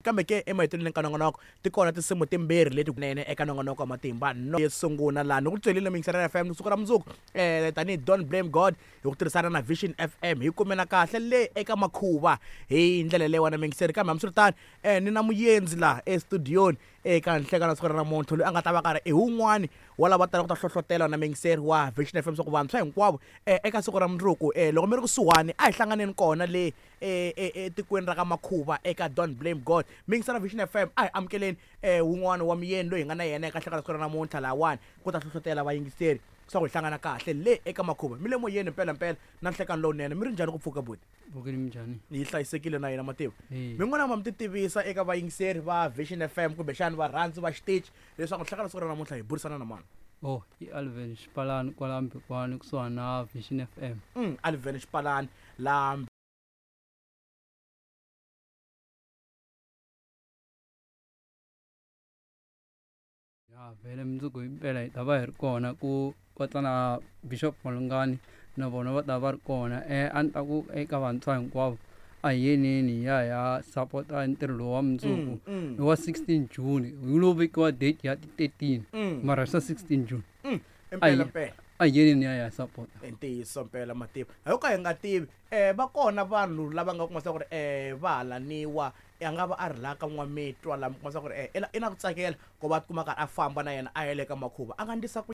Kambe ke emahetelelweni ka nongonoko ti kona tinsimu timbirhi leti nene eka nongonoko wa matimba no yo sungula laha ni ku byelile muyingiseri FM siku ra mundzuku tanihi Don't Blame God hi ku tirhisana na Vision FM hi kumela kahle le eka makhuva hi ndlela leyiwani muyingiseri kambe hambiswiritano ni na muyendzi laha estudioni eka nhlekani wa siku ra namuntlha loyi a nga ta va karhi i wun'wani wa lava talaka ku ta hlohlotela na muyingiseri wa Vision FM swa ku vantshwa hinkwavo eka siku ra mundzuku loko mi ri kusuhani a hi hlanganeni kona le etikweni ra ka Makhuva eka Don't Blame God. Mi yingisela Vision FM, a hi amukeleni wun'wana wa muyeni loyi hi nga na yena eka hlekana siku ra namuntlha lahawani ku ta hlohlotela vayingiseri swa ku hi hlangana kahle le eka Makhuva. Mi le moyeni mpelampela na nhlekani lowunene. Mi ri njhani ku pfuka buti? Pfukile minjhani? Yi hlayisekile na yina mativa. Eya. Mi n'wana ma mi ti tivisa eka vayingiseri va Vision FM kumbexani varhandzi va xitichi leswaku nhlekani siku ra namuntlha hi burisana na mani. Oh, i Alvin Xipalani kwala Mbikwani kusuhani na Vision FM. Alvin Xipalani la Ya vhele mundzuku himpela hi ta va hi ri kona ku kota na Bishop Malungani na vona va ta va ri kona a ni ta ku eka vantshwa hinkwavo a hi yeneni hi ya hi ya sapota ntirho lowu wa mundzuku i wa 16 June hi lo vekiwa date ya ti 13 mara swa 16 June Impela mpela a hi yeneni hi ya hi ya sapota I ntiyiso mpela mativa ho ka hi nga tivi um va kona vanhu lava nga kuma swa ku ri um va halaniwa a nga va a ri laha ka n'wamitwa laha mi kuma swa ku ri um i na ku tsakela ku va tikuma karhi a famba na yena a ya le ka makhuva a nga ndlisa ku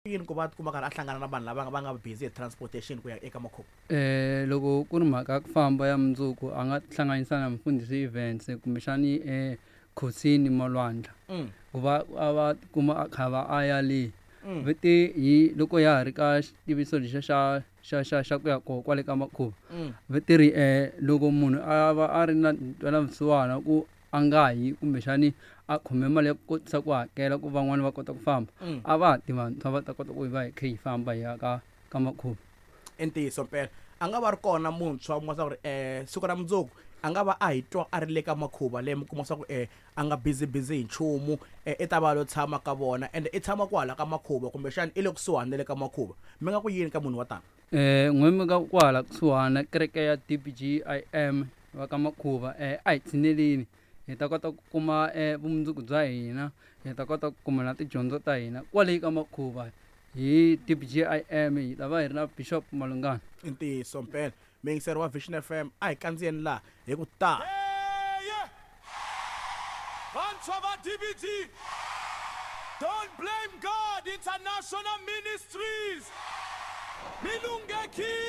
yini ku va tikuma karhi a hlangana na vanhu lava va nga busy hi transportation ku ya eka makhuva Loko ku ri mhaka ya ku famba ya mundzuku a nga tihlanganisa na mufundhisi Events kumbexani Khosini Malwandla ku va a va tikuma a kha va a ya le ve te hi loko ya ha ri ka xitiviso lexiya xa xa xa xa ku ya koho kwale ka makhuva ve te ri loko munhu a va a ri na ntwelavusiwana ku a nga yi kumbexani a khome mali ya ku kotisa ku hakela ku van'wani va kota ku famba a va ti vantshwa va ta kota ku hi va hi kha hi famba hi ya ka ka makhuva I ntiyiso mpela a nga va ri kona muntshwa u kuma swa ku ri siku ra mundzuku a nga va a hi twa a ri le ka makhuva leyi mi kuma swa ku a nga busy busy hi nchumu i ta va a lo tshama ka vona ende i tshama kwahala ka makhuva kumbexana i le kusuhani na le ka makhuva mi nga ku yini ka munhu wa tano. N'we mi nga kwahala kusuhana kereke ya D_B_G_I_M va ka Makhuva a hi tshineleni hi ta kota ku kuma vumundzuku bya hina hi ta kota ku kuma na tidyondzo ta hina kwale ka Makhuva hi D_B_G_I_M hi ta va hi ri na Bishop Malungana. I ntiyiso mpela muyingiseri wa Vision F_M a hi kandziyeni laha hi ku ta. Vantshwa va DBG, Don't Blame God International Ministries, mi lunghekile!